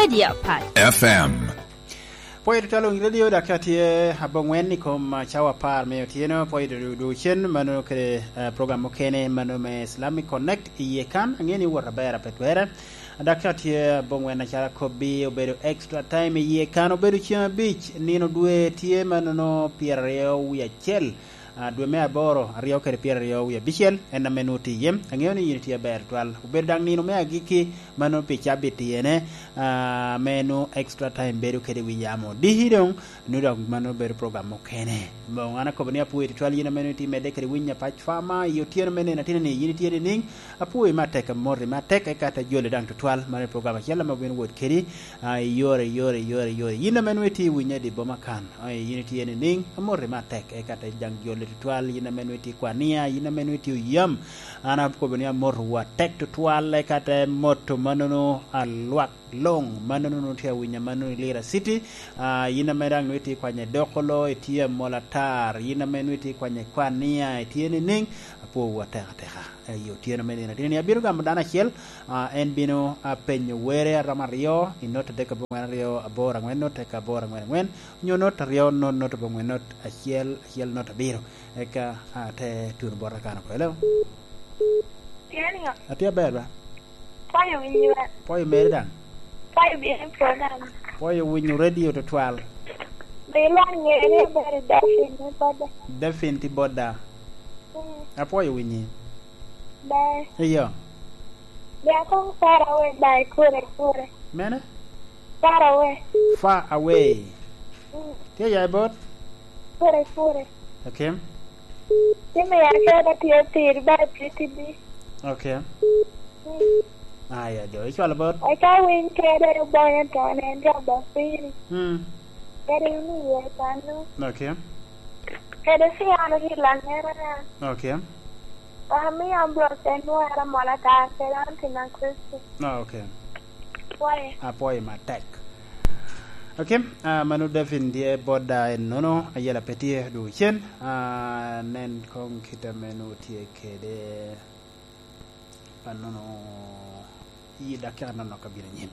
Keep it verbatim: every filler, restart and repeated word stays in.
Media Pac. F M. Pwoyo tutwal Winy Radio, dakika tye abongwen i kom, ah, cawa apar me otyeno. Pwoyo du-, du-, ducen, mano kede, ah, program mukene, mano me Islamic Connect i yie kan. Ang'e ni wot aber ape twere. Dakika tye abongwen, acalo akobbi, obedo extra time i yie kan, obedo ceng abic, nino dwe tye manono pyeraryo wie acel. Ah, dwe me aboro, aryo kede pyeraryo wie abicel, en ame nwoŋo tye iye. Aŋeo ni yin itye aber twal. Obedo daŋ nino me agikki, ma nwoŋo pi cabit iyene, ah, ame nwoŋo extra time bedo kede wi yamo. Diki doŋ, nwoŋo dok ma nwoŋo bedo program mukene. Boŋ, an akobo ni apwoyo tutwal yin ame nwoŋo itye medde kede winyo apac fama i otyeno me nino atina ni yin itye nining? Apwoyi me atek, amoti me atek, eka te joli daŋ tutwal, mano i program acel ame obino wot kedi, ah, i yore, i yore, i yore, i yore. Yin ame nwoŋo itye i winyo i dye boma kan, ah, yin itye nining? Amoti me atek, eka te daŋ joli tutwal, yin ame nwoŋo itye i kwania, yin ame nwoŋo itye oyam. An akobo ni amotowu atek tutwal, eka te moto manono alwak luŋ, manono nwoŋo tye awinyo, manono i Lira City. Ah, yin ame daŋ nwoŋo itye i kwanyo i Dokolo, itye amol atar, yin ame nwoŋo itye i kwanyo i kwania, itye nining? Apwowu atek ateka. I otyeno me nino ateni, abino gamo dano acel, ah, en bino, ah, penyo were aromo aryo, i not adek abongwen aryo aboro angwen, not adek aboro angwen angwen, onyo not aryo, not, not abongwen, not acel, acel, not abiro. Eka, ah, te tuno bota kan oko. Hello? Tye niŋo? Atye aber ba? Pwoyo winyi ba? Pwoyo meri daŋ? Pwoyo bino i program. Pwoyo winyo radio tutwal. Bilwar ŋe ni abedo Daphne me boda. Daphne tye boda. Mm. Apwoyo winyi. Ber. Iyo. Bia koŋ far away by kure kure. Mene? Far away. Far away. Mm. Tye ya i bot? Kure kure. Okay. Tye me ya kede tye pir ba tye tidi. Okay. Mm. Aya jo, icwalo bot? Eka winy kede obonyo to nen jo ba piri. Mm. Kede in iye kanno. Okay. Kede Fiano ki Langera ya. Okay. Amio ambulance en wera mola tar kede anti na Kristo. Ah, okay. Pwoye. Apwoyo matek. Okay, ah, mano Daphne tye boda en nono, ayela pe tye dwogo cen. Ah, nen kong kit ame nwoŋo tye kede, ah, nono, i dakika nono ka bino anyim.